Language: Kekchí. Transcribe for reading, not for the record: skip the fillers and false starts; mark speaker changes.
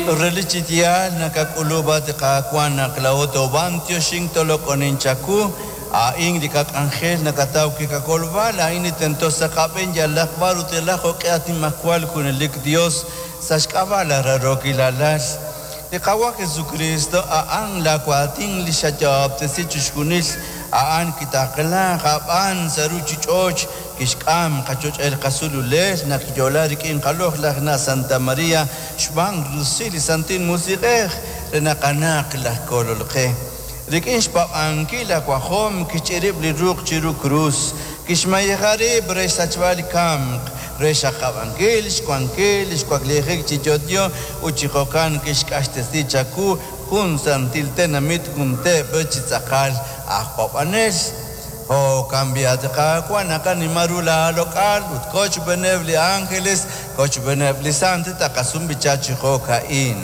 Speaker 1: Relik chi yaal nakak'ulub'a li Qaawa' naq laa'o toob'antioxink toloq'onink chawu. A'in li qak'anjel nakataw wi' qakolb'al, a'in li tento sa' qab'een yalaq b'ar ut yalaq jo'q'e at Nimajwal Junelik Dios, sa' xk'ab'a' laa raarookil Alal, li Qaawa' Jesukristo, a'an laa waatin li xayo'ob'tesi chixjunil, a'an kitaqlaak aab'aan sa' ruchich'och', kixk'am qachoch'el qasululel naq kiyo'la rik'in qaloq'laj na' Santa Maria xb'aan rusil li Santil Musiq'ej re naq a'anaq laj Kolol qe. Rik'in xpaab'ankil aawajom kixch'irib' li ruq' chiru krus, kixmayeja rib' re xsachb'al li kamk, re xaqab'ankil xwankil li xwaklijik chi yo'yo ut chi jo'kan kixq'axtesi chawu jun santil tenamit jun teep chi tz'aqal aj paab'anel. Jo'kan b'i' at Qaawa' naqanima ru laaloq'al ut kochb'eeneb' li ánjeles, kochb'eeneb' li sant taqasum b'icha chi jo'ka'in.